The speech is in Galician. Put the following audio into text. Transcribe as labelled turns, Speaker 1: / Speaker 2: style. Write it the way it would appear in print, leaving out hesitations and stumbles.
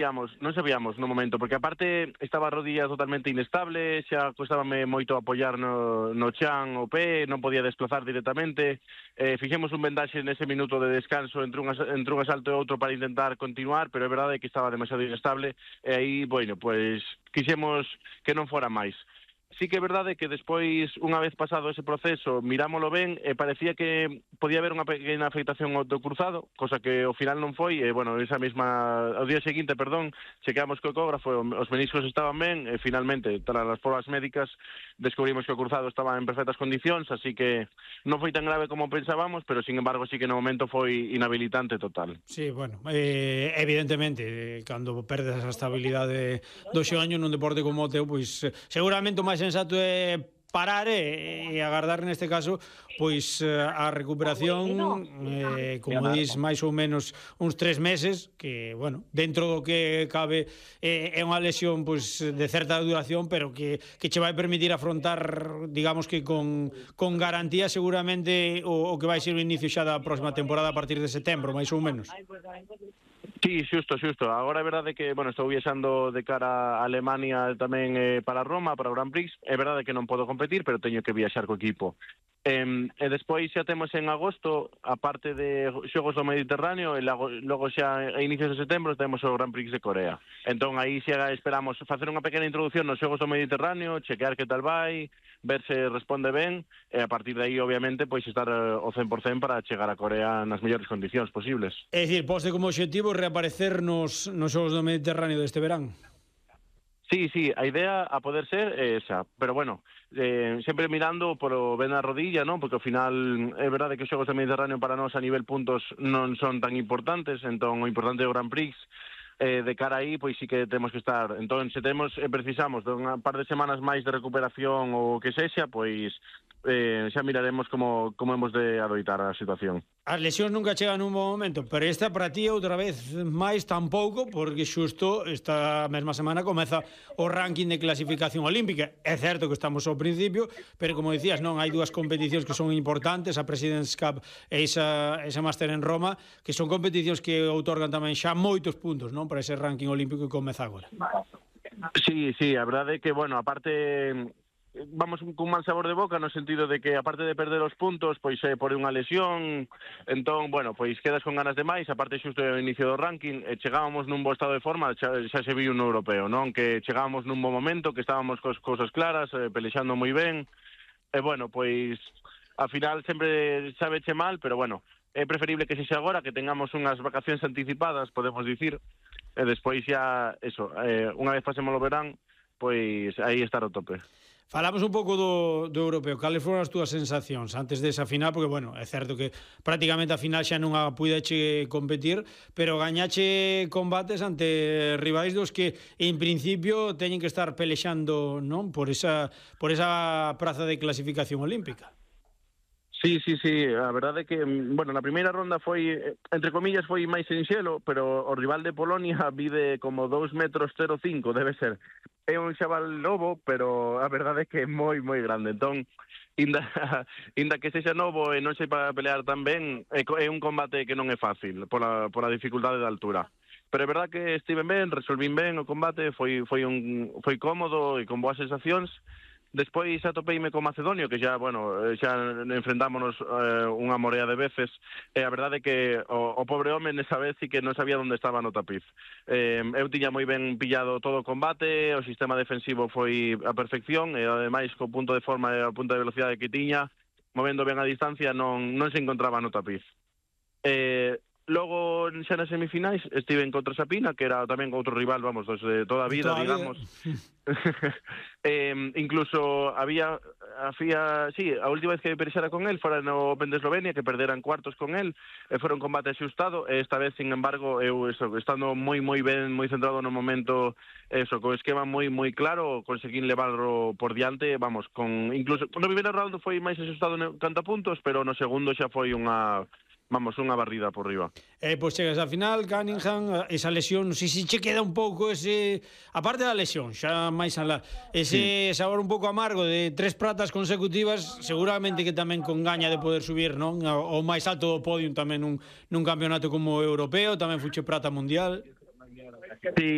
Speaker 1: non sabíamos no momento, porque aparte estaba a rodilla totalmente inestable, xa costábame moito apoiar no chan o pé, non podía desplazar directamente, fixemos un vendaxe nese minuto de descanso entre un asalto e outro para intentar continuar, pero é verdade que estaba demasiado inestable, e aí, bueno, pois quixemos que non fora máis. Sí que é verdade que despois, unha vez pasado ese proceso, mirámolo ben e parecía que podía haber unha pequena afectación ao do cruzado, cosa que ao final non foi, e, bueno, ao día seguinte, chequeamos co ecógrafo, os meniscos estaban ben, e finalmente, tras as probas médicas, descubrimos que o cruzado estaba en perfectas condicións, así que non foi tan grave como pensábamos, pero, sin embargo, sí que no momento foi inhabilitante total.
Speaker 2: Sí, bueno, evidentemente, cando perdes a estabilidade do xeonllo nun deporte como o teu, pois seguramente o máis sensato é parar e agardar neste caso pois a recuperación, como dis, máis ou menos uns 3 meses, que, bueno, dentro do que cabe é unha lesión pois de certa duración, pero que che vai permitir afrontar, digamos que con garantía seguramente o que vai ser o inicio xa da próxima temporada a partir de setembro, máis ou menos.
Speaker 1: Sí, xusto. Agora é verdade que, bueno, estou viaxando de cara a Alemania tamén para Roma, para o Grand Prix. É verdade que non podo competir, pero teño que viaxar co equipo. E despois xa temos en agosto, a parte de Xogos do Mediterráneo, e logo xa a inicios de setembro temos o Grand Prix de Corea. Entón aí xa esperamos facer unha pequena introducción nos Xogos do Mediterráneo, chequear que tal vai, ver se responde ben, e a partir de aí, obviamente, pois estar ao 100% para chegar a Corea nas mellores condicións posibles.
Speaker 2: É dicir, poste como objetivo reaparecer nos Xogos do Mediterráneo deste verán?
Speaker 1: Sí, a idea a poder ser é esa, pero bueno, sempre mirando polo ben na rodilla, non? Porque ao final é verdade que os Xogos do Mediterráneo para nós a nivel puntos non son tan importantes, entón o importante é o Grand Prix. De cara aí, pois sí que temos que estar. Entón, se precisamos de unha par de semanas máis de recuperación ou que sexa, pois xa miraremos como hemos de adoitar a situación.
Speaker 2: As lesións nunca chegan nun bom momento, pero esta para ti outra vez máis tampouco, porque xusto esta mesma semana comeza o ranking de clasificación olímpica. É certo que estamos ao principio, pero como dicías, non, hai dúas competicións que son importantes, a President's Cup e esa Máster en Roma, que son competicións que outorgan tamén xa moitos puntos, non, para ese ranking olímpico que comeza agora.
Speaker 1: Sí, a verdade é que, bueno, aparte vamos cun mal sabor de boca no sentido de que, aparte de perder os puntos, pois por unha lesión, entón, bueno, pois quedas con ganas de máis, aparte xusto ao inicio do ranking, chegábamos nun bo estado de forma, xa se viu no europeo, non? Que chegábamos nun bo momento, que estábamos cos cousas claras, pelexando moi ben, e, bueno, pois, ao final sempre sabeche mal, pero, bueno, é preferible que sexa agora, que tengamos unhas vacacións anticipadas, podemos dicir, e despois xa, eso, unha vez pasemos o verán, pois aí estar ao tope.
Speaker 2: Falamos un pouco do europeo. Cales foron as túas sensacións antes desa final? Porque, bueno, é certo que prácticamente a final xa non a puideche competir, pero gañache combates ante rivais dos que, en principio, teñen que estar pelexando, non, por esa praza de clasificación olímpica.
Speaker 1: Sí, a verdade é que, bueno, na primeira ronda foi, entre comillas, foi máis sinxelo, pero o rival de Polonia mide como 2,05 metros, debe ser. É un xaval novo, pero a verdade é que é moi grande. Entón, inda que sexa novo e non sei para pelear tan ben, é un combate que non é fácil, pola dificultade da altura. Pero é verdade que estive ben, resolvín ben o combate, foi cómodo e con boas sensacións. Despois atopeime con Macedonio, que xa, bueno, xa enfrentámonos unha morea de veces, e a verdade é que o pobre home nesa vez sí que non sabía onde estaba no tapiz. Eu tiña moi ben pillado todo o combate, o sistema defensivo foi a perfección, e ademais co punto de forma e o punto de velocidade que tiña, movendo ben a distancia, non se encontraba no tapiz. Logo, xa nas semifinais, estive en contra Sapina, que era tamén outro rival, vamos, de toda a vida, digamos. Incluso había a última vez que perexera con él fora no Open de Eslovenia, que perderan cuartos con él, fora un combate axustado, e esta vez, sin embargo, eu, estando moi ben, moi centrado no momento, co esquema moi claro, conseguín levarlo por diante, vamos, incluso, no primeiro round foi máis axustado canto a puntos, pero no segundo xa foi unha barrida por riba.
Speaker 2: Pois chegas á final, Cunningham, esa lesión, si che queda un pouco ese, aparte da lesión, xa máis alá, ese sabor un pouco amargo de 3 pratas consecutivas, seguramente que tamén con gaña de poder subir, non, ao máis alto do podium tamén nun campeonato como o europeo, tamén fuche prata mundial.
Speaker 1: Sí,